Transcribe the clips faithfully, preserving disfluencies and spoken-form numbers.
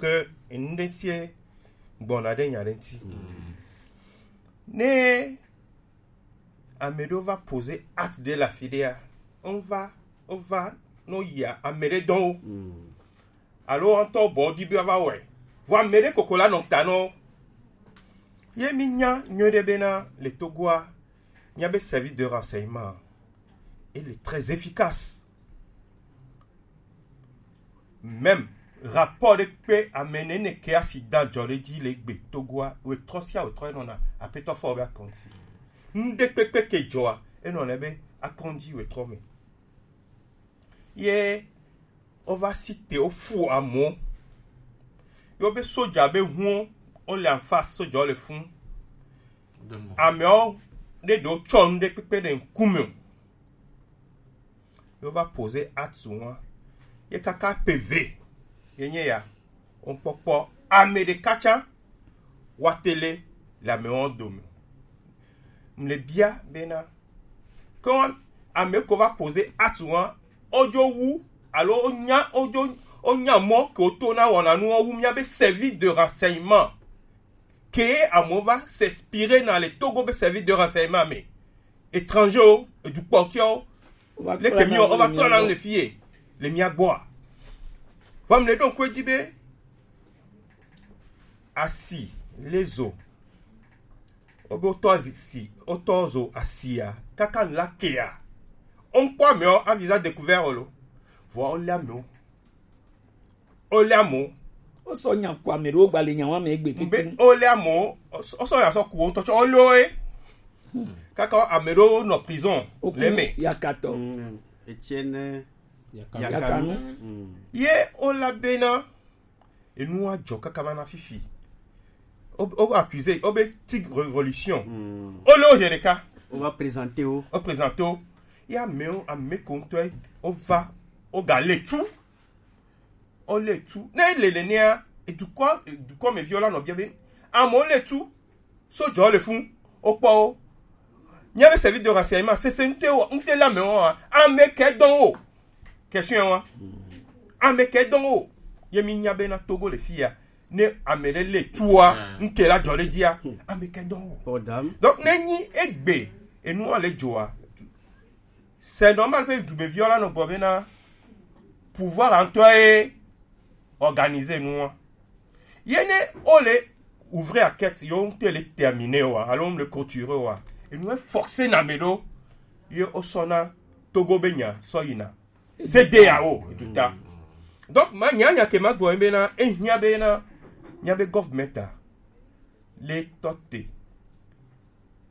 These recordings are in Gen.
Que enu ɖe ŋuti gbɔna ɖe nya ɖe ŋuti. Ne ame ɖewo va poser acte ɖe le afi ɖea, wova wova nɔ yia ame ɖe dɔn wo. Alo woawo ŋutɔ bɔ wodi be woava wɔe. Vɔ ame ɖe koko la nɔ ta nɔ wo. Ye mi nya nyuie ɖe bena le Togoa, mia be service de renseignement, il est très efficace. Même rapport ɖe kpe ame nene ke accident dzɔ ɖe dzi le gbe Togoa, wetrɔ sia wetrɔ enɔna apetɔ fɔ be akɔnti. Ŋɖe kpekpe ke dzɔa, enɔna be akɔnti wetrɔ me. Ye wova si te woƒu amewo. Ye wobe soja be huo, wole en face, sojawo le fun. Amewo ɖe ɖewo tsɔ nu ɖe kpekpe ɖe ŋkume o. Ye wova poser acte ŋua. Ye kaka pe ve ye nye ya. Wokpɔkpɔ ame ɖeka tsã wa tele le amewo dome. Mle bia bena, ke ame ko va poser acte ŋua, wodzo wu alo wonya wodzo wonya mɔ ke woto na wɔna nuwo wu mia be service de renseignement ke amewo va s'inspirer na le Togo be service de renseignement me. Étranger o, edukpɔtiawo, leke mi wova kpɔna le fie le mia gbɔa? Vɔ mle ɖo ŋku edzi be asi le zo, wobe wotɔ azi si wotɔ zo asia kaka nu la kea, woŋkpɔ amewo a visage découvert o lo, vɔ wole amewo, wole amewo. Wosɔ nya ku ame ɖewo gba le nya wa me egbe keke. Be wole amewo, wosɔ nya sɔ ku wo ŋutɔ tsɔ wole wo ye. Kaka ame ɖewo nɔ prison le me. Yakatɔ. Etienne Yakanu. Ye wola bena enu wa dzɔ kaka va na fifi. O, o accusé, o be tig révolution. O le o yɛ ɖeka. O va présenter o. O présenter o. Ya amewo, ame ko ŋutɔ, o va, o ga le tu. O le tu. Ne le le nea, edukɔ, edukɔ me viwo la nɔ bia be, amewo le tu. Sojawo le fun, wokpɔ wo. Míabe service de renseignement, sese ŋutɔ wɔ, ŋutɔ le amewo wa, ame ke dɔn wo. Question wa. Ame ke dɔn wo. Ye mi nya be na Togo le fia. Ne ame ɖe le tua, ŋutɔ la dzɔ ɖe dzia, ame ke dɔn wo. Donc, ne nyi egbe, enu wa le dzoa. C'est normal que dumeviwo la nɔ gbɔ be na pouvoir ŋutɔ ye organiser nua. Ye ne o le ouvrir enquête, yo ŋutɔ le terminer wa, alo le clôturer wa. Enu e forcer na me ɖo, ye o sɔ na Togo be nya sɔ yina. C'est D A O, du ta. Donc, ma nya nya ke ma gbɔ be na, e hia be na, nya be government a, le tɔ te,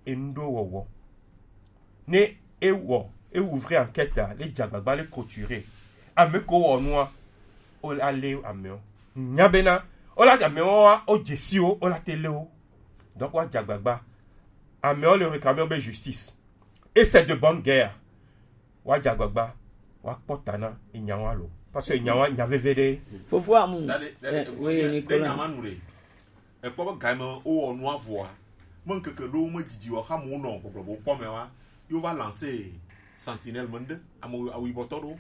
e ŋɖo wɔwɔ. Ne e wɔ, e ouvrir enquête a, le dzagbagba, le clôturer. Ame ko wɔ nua, o la le amewo. Nya be na, o la amewo wa, o dzesi wo, o la te le wo. Donc, wa dzagbagba. Amewo le réclamer be justice. Et c'est de bonne guerre. Wa dzagbagba. Wa kpɔ ta na, e nya wa lo. Parce que nya wa, nya veve ɖe. Fofo amu. Eh, oui, Nicolas. Ekpɔ be game wowɔ nua vɔa, me ŋkeke ɖewo medidi o, xamewo nɔ gbɔgblɔ be wokpɔ mɛ wa, yewo va lancer sentinelle me ŋɖe, ame awu yibɔtɔ ɖewo,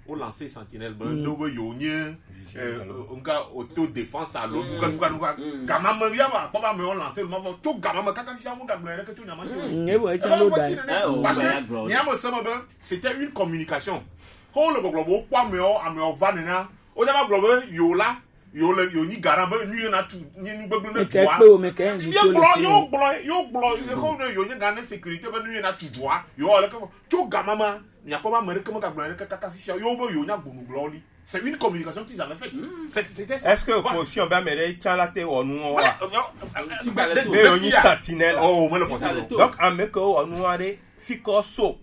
wo lancer sentinelle me ŋɖewo be yewo nye, eh, ŋka autodéfense alo nuka, nuka, nuka. Gama me ya va akpɔ be amewo lancer le ma vɔ, tso gama me kaka fia mu gagblɔ ɖeke tso nya ma tso. Eva vɔ ti nene. Parce que nya me se me be c'était une communication. Xɔ le gbɔgblɔ be wokpɔ amewo, amewo va nena, wo ja va gblɔ be yewo la, yo le, yo nyi garant be nu ye na tu, nyi nu gbegblẽ ne dua. Meke kpe wo, meke invité le fi. Yo gblɔ, yo gblɔ, yo gblɔ, yo nye garant sécurité be nu ye na tu dua. Yo le ke tso gama ma, nya kpɔ ma me ɖeke me gagblɔ ɖeke kaka fisia. Yo be yo nya gbonu gblɔ li. C'est une communication qu'ils avaient faite. C'est, c'était ça. Est-ce que opposition be ame ɖe tsa la te wɔ nu wa? Be yo nyi sentinelle. Oh, me le possible. Donc, ame ke wɔ nu wa ɖe, fi kɔ so.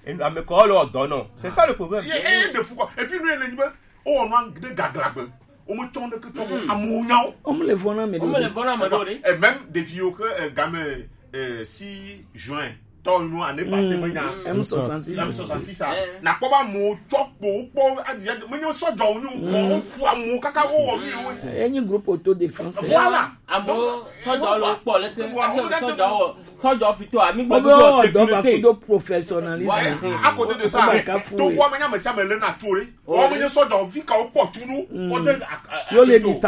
Ame ke wɔ le wɔ dɔ nɔ. C'est ça le problème. Et, et de fou quoi. Et puis nous, les libéraux, o wɔ nua ɖe gaglagbe. O me tsɔ ɖeke tsɔ mo. Amewo nya wo. O me le vɔna me ɖo. O me le vɔna me ɖo ɖe. Et même des vieux que, euh, game, euh, six juin, tɔ nu année passée, me nya. M soixante-six. M soixante-six, ça. Na kpɔ ba mo tsɔ kpo, kpɔ, adi, adi, me nya sɔdzɔ wo nyo, kɔ, o fu amewo kaka wo wɔ mi wo. Enyi groupe autodéfense. Voilà. Amewo sɔdzɔ le kpɔ leke, sɔdzɔ wɔ, sɔdzɔ plutôt, ami gbɔ do sécurité. Professionnalisme. À côté de ça, to kwa me nya me sia me le na tore. Wa me nye sɔdzɔ vi ka wo kpɔ tu nu. Wo de. Yo le di sa